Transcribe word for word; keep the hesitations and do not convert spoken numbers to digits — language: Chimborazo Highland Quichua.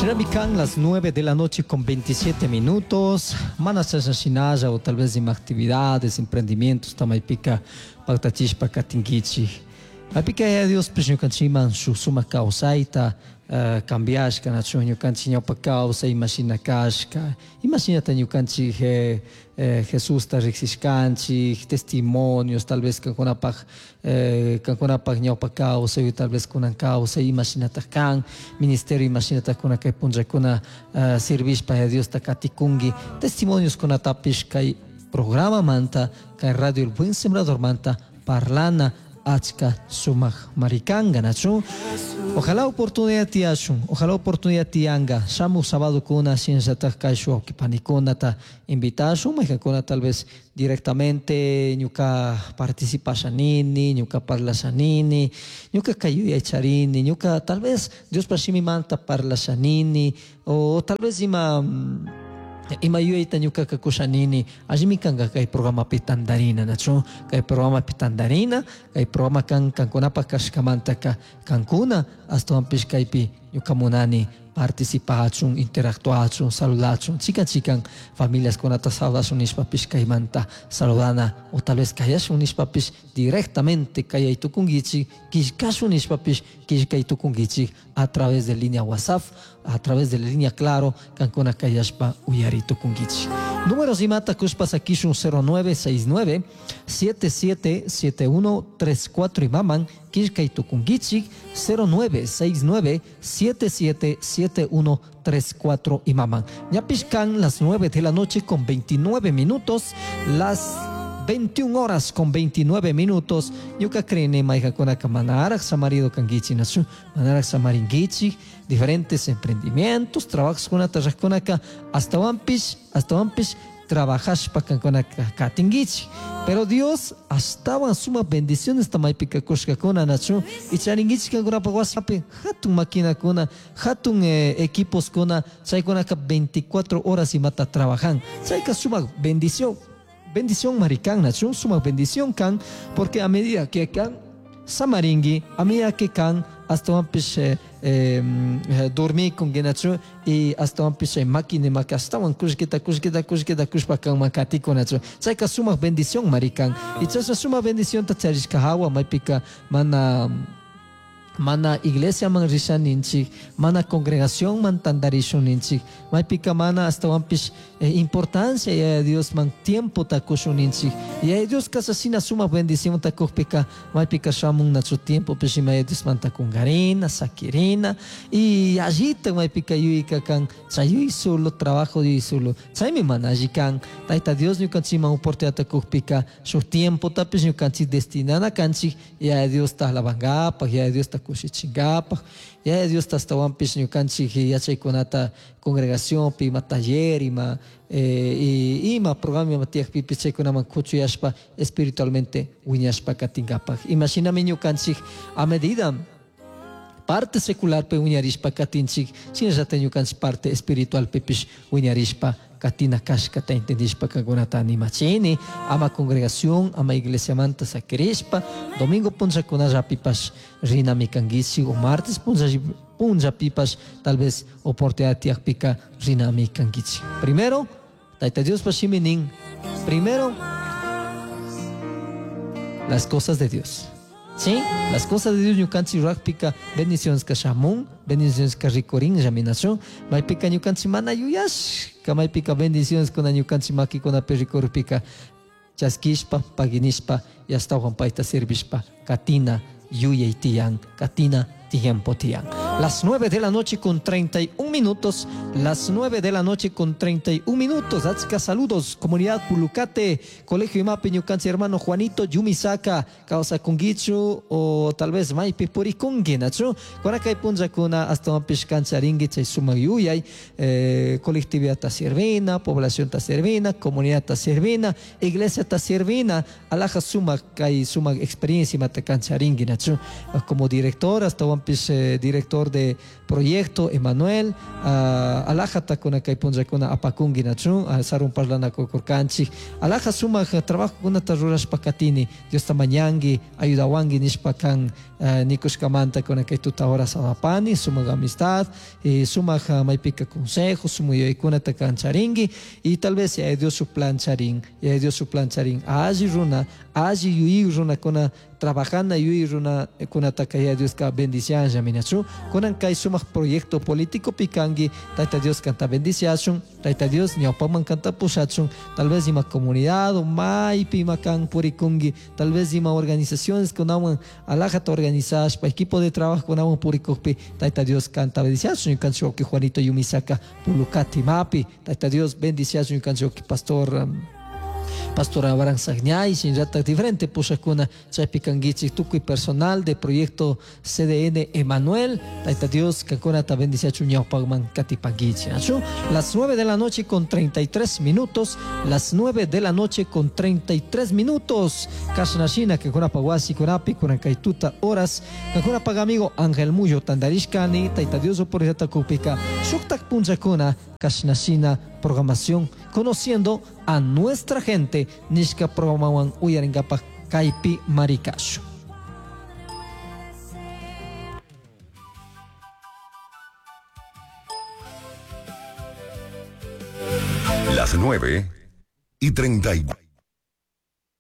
Shinami kan las nueve de la noche con veintisiete minutos. Mana shashinalla o tal vez ima actividades, emprendimientos tamaypika paktachishpa katinkichik. Maypika Yaya Diospish ñukanchikman shuk sumak kawsayta uh, cambiashka, nachu ñukanchik ñawpa kawsay imashina kashka, imashinata ñukanchik eh, eh, Jesusta riksishkanchik, testimonios tal vez kankunapaj eh, kankunapaj ñawpa kawsay, tal vez kunan kawsay imashinata kan, ministerio imashinata kuna kay punllakuna uh, sirvishpa Yaya Diosta katikunki, testimonios kunatapish kay programa manta, kay Radio El Buen Sembrador manta parlana achka sumak marikanga, nachu. Ojalá oportunidad tiyashun, ojalá oportunidad tiyanga, shamu sábado kuna shinllatak kay shuk panikunata invitashun, maykankuna tal vez directamente ñuka participashanini, ñuka parlashanini, ñuka kay yuyaycharini, ñuka tal vez Diospa shimimanta parlashanini, o tal vez ima ima yuyayta ñukaka kushanini, allimi kanka kay programapi tandarina, nachu, kay programapi tandarina, kay programa kan kankunapaj kashkamantaka kankuna ashtawanpish kaypi ñuka munani participachun, interactuachun, saludachun, chikan chikan familias kunata saludashun nishpapish kaymanta saludana, o tal vez kayashun nishpapish directamente kayaytukunkichik, killkashun nishpapish killkaytukunkichik a través de línea WhatsApp, a través de la línea Claro, kankuna kayashpa uyaritukunkichik. Números imata kushpa sakishun cero nueve seis nueve siete siete siete uno tres cuatro imaman killkaytukunkichik cero nueve seis nueve siete siete siete uno tres cuatro imaman. Ñapish kan las nueve de la noche con veintinueve minutos, las veintiuna horas con veintinueve minutos. Ñuka creen maykakunaka manaraj samarido kankichik, nachu, manaraj samarinkichik, diferentes emprendimientos, trabajos kunata rajkunaka, hasta wanpish, hasta wanpish trabajashpa kankunaka katinkichik. Pero Dios ashtawan suma bendiciones tamaypika kushkakuna, nachu, y charinkichik kankunapa wasipi hatun maquinakuna, hatun, eh, equipos kuna, chaykunaka veinticuatro horas imata trabajan. Chayka suma bendición, bendición maricán, nachu, suma bendición kan, porque a medida que kan samaringui, a medida que kan hasta wanpish, eh, eh, dormir con genachu y hasta wanpish eh, máquina maka hasta wan kushkita kushkita kushkita kushpa kan makatiko nachu. Chayka suma bendición maricán. Y chayka suma bendición ta charishka hawa maypika mana mana iglesia man risha ninchik, mana congregación man tandarishun ninchik, maypika mana hasta wanpish, eh, importancia ya Dios man tiempo takushun ninchik. Ya Dios kasasina suma bendición takujpika maypika shamun nachu tiempo pishima ya Dios man takungarina, sakirina, y allita maypika yuyika kan chayuy solo trabajo yuy solo. Chaymi mana alli kan Tayta Dios ñukanchikman oportunidad takujpika shuk tiempo tapish ñukanchik destinana kanchik ya Dios ta alabankapaj, ya Dios ta kushichinkapaj, ya Dios ta ashtawanpish ñukanchik yachaykunata congregacionpi, ima taller, ima, eh, y, ima programa ima tiyakpipish chaykunaman kuchuyashpa espiritualmente wiñashpa katinkapaj. Imashinami ñukanchik a medida parte secular pe wiñarishpa katinchik, shinallata ñukanchik parte espiritual pipish wiñarishpa katina kashkata entendishpa kankunata animachini, ama congregación, ama iglesia manta sakirishpa, domingo punllakunallapipash rinami kankichik, o martes punllapipash tal vez oportunidad tiyakpika rinami kankichik. Primero, Tayta Diospa shimi nin, primero, las cosas de Dios. Sí, las cosas de Dios ñukanchik rurakpika bendiciones ka shamun, bendiciones ka rikurin llaminación, maypika ñukanchik mana yuyashka, maypika bendiciones kuna ñukanchik makikunapi rikurpika chaskishpa, paginishpa, y ashtawan payta servishpa, katina yuyay tiyan, katina tiempo tiyan. Las nueve de la noche con treinta y un minutos, las nueve de la noche con treinta y un minutos. Achka saludos, comunidad Pulucate, Colegio Imape, ñukanchik hermano Juanito Yumisaka, causa kungichu o tal vez maypi purikungi, nachu. Kurakay punllakuna hasta wanpish kancharingi chay sumak yuyay, eh, colectividad ta servina, población ta servina, comunidad ta servina, iglesia ta servina, alaja sumak kay sumak experiencia mata kancharingi, nachu. Como director, hasta wanpish, eh, director director de proyecto Emanuel, uh, alajata kuna kay punllakuna apakunki nachu, uh, sarun parlanakukurkanchik, alaja sumak trabajo kunata rurashpa katini, Diosta mañanki, ayudawanki nishpa kan uh, nikushkamanta kuna kay tuta horas apani, sumak amistad, eh, sumak uh, maypika consejo, sumak yuyaykunata kan charinki, y tal vez Yaya Dios su plan charin, Yaya Dios su plan charin, alli runa, alli yuyay runakuna trabajana yuyay runakunataka Yaya Dioska bendicianlla minachu, kunan kay sumak proyecto político pikanki, Tayta Dios kanta bendiciachun, Tayta Dios ñawpaman kanta pushachun, tal vez ima comunidad o maypi ima kan purikunki, tal vez ima organizaciones kunawan alajata organizashpa, equipo de trabajo kunawan purikukpi, Tayta Dios kanta bendiciachun, ñukanchik wawki Juanito Yumisaka Pulucati mapi, Tayta Dios bendiciachun ñukanchik wawki pastor um, Pastor Abraham Sagñay, shinllatak diferente pushakuna chaypi kankichik tukuy personal de proyecto C D N Emanuel, Tayta Dios kankunata bendiciachun ñawpakman katipankichik. Achu, las nueve de la noche con treinta y tres minutos, las nueve de la noche con treinta y tres minutos, kashnashina kankunapa wasi kunapi kunan kay tuta horas, kankunapa amigo Ángel Muyo tandarishkani, Tayta Dios oportunidad kupika shuktak punllakuna kashnashina programación conociendo a nuestra gente nishka programawan uyarinkapak kaypi marikashu. Las nueve y treinta y